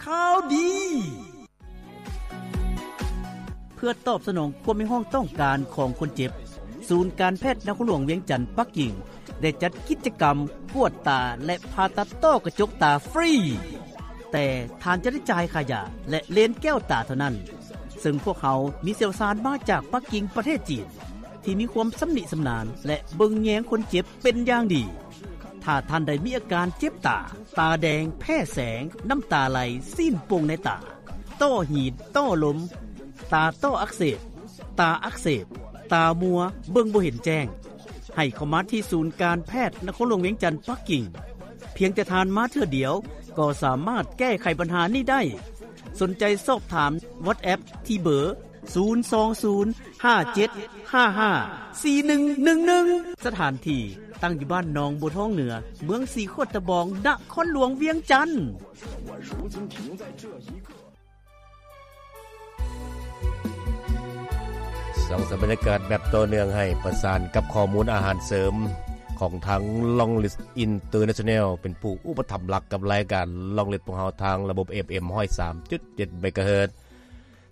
ຂ່າວດີ. ເພື່ອຕອບສະໜອງຄວາມຮຽກຮ້ອງຕ້ອງການຂອງຄົນເຈັບ, ສູນການແພດນະຄອນຫຼວງວຽງຈັນປັກກິ່ງ ໄດ້ຈັດກິດຈະກຳກວດຕາ ແລະ ຜ່າຕັດຕ້ອກະຈົກຕາຟຣີ, ແຕ່ທ່ານຈະໄດ້ຈ່າຍຄ່າຢາ ແລະ ເລນແກ້ວຕາເທົ່ານັ້ນ, ເຊິ່ງພວກເຮົາມີຊ່ຽວຊານມາຈາກປັກກິ່ງ ປະເທດຈີນ ທີ່ມີຄວາມຊຳນິຊຳນານ ແລະ ເບິ່ງແຍງຄົນເຈັບເປັນຢ່າງດີ. ຖ້າທ່ານໃດມີອາການເຈັບຕາ, ຕາແດງ, ແພ້ແສງ, ນ້ຳຕາໄຫຼ, ຊີ້ນປ່ງໃນຕາ, ຕ້ອຫີນ, ຕ້ລົມ, ຕາຕ້ອອັກເສບ, ຕາອັກເສບ, ຕາມົວ, ເບິ່ງບໍ່ເຫັນແຈ້ງ, ໃຫ້ເຂົ້າມາທີ່ສູນການແພດນະຄອນຫຼວງວຽງຈັນປັກກິ່ງ. ພຽງແຕ່ທ່ານມາເທື່ອດຽວ ກໍສາມາດແກ້ໄຂບັນຫານີ້ໄດ້. ສົນໃຈສອບຖາມ WhatsApp ທີ່ເບີ ສູນສອງສູນ ຫ້າເຈັດຫ້າຫ້າ ສີ່ໜຶ່ງໜຶ່ງໜຶ່ງ. ສະຖານທີ່ຕັ້ງຢູ່ບ້ານໜອງບົວທອງເໜືອ, ເມືອງສີໂຄດຕະບອງ, ນະຄອນຫຼວງວຽງຈັນ. ສ້າງສະພາບບັນຍາກາດແບບຕໍ່ເນື່ອງໃຫ້ປະສານກັບຂໍ້ມູນອາຫານເສີມຂອງທາງ Long List International ເປັນຜູ້ອຸປະຖຳຫຼັກກັບລາຍການ Long List ຂອງເຮົາທາງລະບົບ ເອັຟເອັມ ຮ້ອຍສາມຈຸດເຈັດ ເມກາເຮີດ.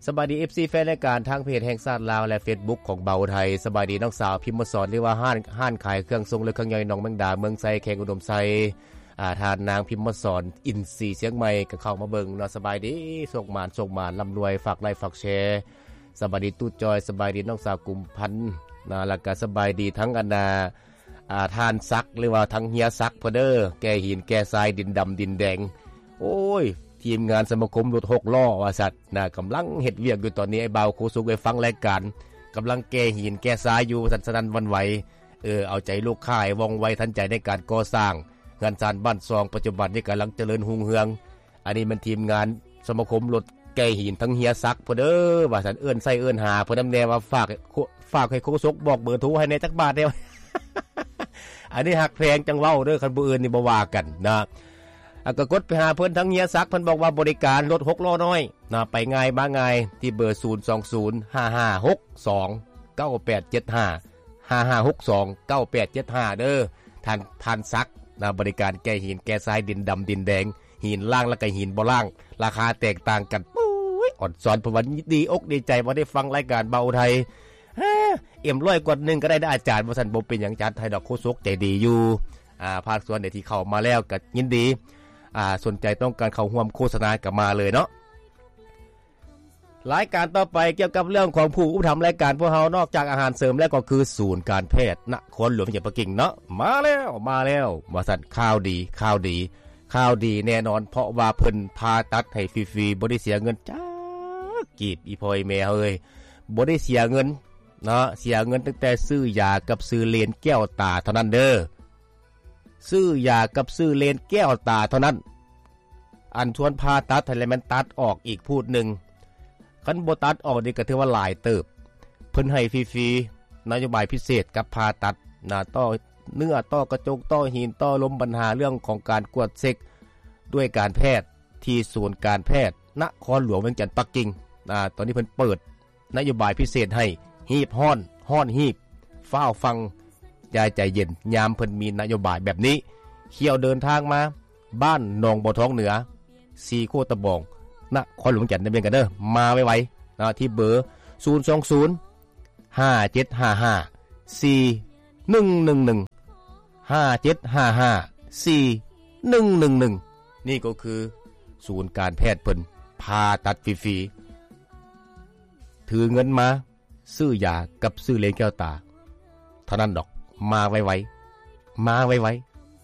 ສະບາຍດີ ເອັຟຊີ ແຟນລາຍການທາງເພຈແຫ່ງຊາດລາວ ແລະ ເຟສບຸກຂອງເບົາໄທ. ສະບາຍດີນ້ອງສາວພິມມະສອນ ຫຼືວ່າຮ້ານ ຮ້ານຂາຍເຄື່ອງຊົງ ແລະ ເຄື່ອງຍ່ອຍໜອງແມງດາ ເມືອງໄຊ ແຂວງອຸດົມໄຊ. ອາ ທ່ານນາງພິມມະສອນ ອິນຊີຊຽງໃໝ່ ກໍເຂົ້າມາເບິ່ງເນາະ. ສະບາຍດີ ໂຊກໝານ ໂຊກໝານ ລ່ຳລວຍ ຝາກໄລ້ຝາກແຊ. ສະບາຍດີຕູ້ຈອຍ ສະບາຍດີນ້ອງສາວກຸມພັນນະ ແລ້ວກໍສະບາຍດີທັງອັນນາ ອາ ທ່ານສັກ ຫຼືວ່າທັງເຮຍສັກເພິ່ນເດີ ແກ່ຫີນແກ່ຊາຍ ດິນດຳດິນແດງ. ໂອ້ຍ ທີມງານສະມາຄົມລົດຫົກລໍ້ວ່າຊັ້ນນະ ກຳລັງເຮັດວຽກຢູ່ຕອນນີ້. ອ້າຍບ່າວໂຄສົກໄດ້ຟັງລາຍການ ກຳລັງແກ່ຫີນແກ່ຊາຍຢູ່ວ່າຊັ້ນ ສະນັ້ນຫວັ່ນໄຫວ. ເອີ ເອົາໃຈລູກຄ້າໃຫ້ວ່ອງໄວທັນໃຈໃນການກໍ່ສ້າງເຮືອນຊານບ້ານຊ່ອງ ປັດຈຸບັນນີ້ກຳລັງຈະເລີນຮຸ່ງເຮືອງ. ອັນນີ້ແມ່ນທີມງານສະມາຄົມລົດແກ່ຫີນທັງເຮຍສັກພຸ້ນເດີ ວ່າຊັ້ນ. ເອີ້ນໃສ່ເອີ້ນຫາເພິ່ນນຳແດ່ວ່າ ຝາກ ຝາກໃຫ້ໂຄສົກບອກເບີໂທໃຫ້ແດ່ຈັກບາດແດ່. ອັນນີ້ຮັກແພງຈັ່ງເວົ້າເດີ ຄັນຜູ້ອື່ນນີ້ບໍ່ວ່າກັນນະ. ອາ ກໍກົດໄປຫາເພິ່ນທາງເຮຍສັກ ເພິ່ນບອກວ່າບໍລິການລົດຫົກລໍ້ນ້ອຍນະ ໄປງ່າຍມາງ່າຍ ທີ່ເບີ ສູນສອງສູນ ຫ້າຫ້າຫົກສອງ ເກົ້າແປດເຈັດຫ້າ ຫ້າຫ້າຫົກສອງ ເກົ້າແປດເຈັດຫ້າ ເດີ ທ່ານ ທ່ານສັກນະ. ບໍລິການແກ່ຫີນແກ່ຊາຍ ດິນດຳດິນແດງ ຫີນລ້າງ ແລ້ວກໍຫີນບໍ່ລ້າງ ລາຄາແຕກຕ່າງກັນ. ໂອ້ຍ ອອນຊອນ ເພິ່ນວ່າດີອົກດີໃຈວ່າໄດ້ຟັງລາຍການເບົາໄທ. ເອັມຮ້ອຍກວ່າໜຶ່ງກໍໄດ້ເດີອາຈານ ວ່າຊັ້ນ. ບໍ່ເປັນຫຍັງ ຈັດໃຫ້ດອກ ໂຄສົກໃຈດີຢູ່ ອາ ພາກສ່ວນໃດທີ່ເຂົ້າມາແລ້ວກໍຍິນດີ. ອາ ສົນໃຈຕ້ອງການເຂົ້າຮ່ວມໂຄສະນາກໍມາເລີຍເນາະ. ລາຍການຕໍ່ໄປກ່ຽວກັບເລື່ອງຂອງຜູ້ອຸປະຖຳລາຍການພວກເຮົາ ນອກຈາກອາຫານເສີມແລ້ວ ກໍຄືສູນການແພດນະຄອນຫຼວງວຽງຈັນປັກກິ່ງເນາະ. ມາແລ້ວ ມາແລ້ວ ວ່າຊັ້ນ. ຂ່າວດີ ຂ່າວດີ ຂ່າວດີແນ່ນອນ ເພາະວ່າເພິ່ນຜ່າຕັດໃຫ້ຟຣີໆ ບໍ່ໄດ້ເສຍເງິນຈັກກີບ ອີ່ພໍ່ອີ່ແມ່ເອີຍ. ບໍ່ໄດ້ເສຍເງິນເນາະ ເສຍເງິນຕັ້ງແຕ່ຊື້ຢາກັບຊື້ເລນແກ້ວຕາເທົ່ານັ້ນເດີ. ຊື້ຢາກັບຊື້ເລນແກ້ວຕາເທົ່ານັ້ນ. ອັນຊວນຜ່າຕັດຫັ້ນແຫຼະ ແມ່ນຕັດອອກອີກພູດໜຶ່ງ. ຄັນບໍ່ຕັດອອກນີ້ກໍຖືວ່າຫຼາຍເຕີບ. ເພິ່ນໃຫ້ຟຣີໆ ນະໂຍບາຍພິເສດກັບຜ່າຕັດນະ ຕໍ່ເນື້ອ ຕໍ່ກະຈົກ ຕໍ່ຫີນ ຕໍ່ລົມ ບັນຫາເລື່ອງຂອງການກວດເຊັກດ້ວຍການແພດ ທີ່ສູນການແພດນະຄອນຫຼວງວຽງຈັນປັກກິ່ງ. ອາ ຕອນນີ້ເພິ່ນເປີດ ນະໂຍບາຍພິເສດໃຫ້ ຮີບຮ້ອນ ຮ້ອນຮີບ ຟ້າວຟັງ ຢ່າໃຈເຢັນ ຍາມເພິ່ນມີນະໂຍບາຍແບບນີ້. ຂ້ຽວເດີນທາງມາ ບ້ານໜອງບົວທອງເໜືອ ສີໂຄດຕະບອງ ນະຄອນຫຼວງວຽງຈັນ ໄດ້ເບິ່ງກັນເດີ. ມາໄວໆນະ ທີ່ເບີ ສູນສອງສູນ ຫ້າເຈັດຫ້າຫ້າ ສີ່ໜຶ່ງໜຶ່ງໜຶ່ງ ຫ້າເຈັດຫ້າຫ້າ ສີ່ໜຶ່ງໜຶ່ງໜຶ່ງ. ນີ້ກໍຄືສູນການແພດເພິ່ນ ຜ່າຕັດຟຣີໆ. ຖືເງິນມາ ຊື້ຢາກັບຊື້ເລນແກ້ວຕາເທົ່ານັ້ນດອກ. ມາໄວໆ ມາໄວ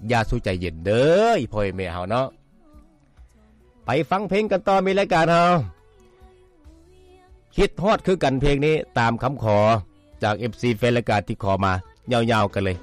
ໆ ຢ່າສູ່ໃຈເຢັນເດີ ອີ່ພໍ່ອີ່ແມ່ເຮົາເນາະ. ໄປຟັງເພງກັນຕໍ່ ມີລາຍການເຮົາ ຄິດຮອດຄືກັນເພງນີ້ ຕາມຄຳຂໍຈາກ ເອັຟຊີ ແຟນລາຍການທີ່ຂໍມາ ຍາວໆກັນເລີຍ.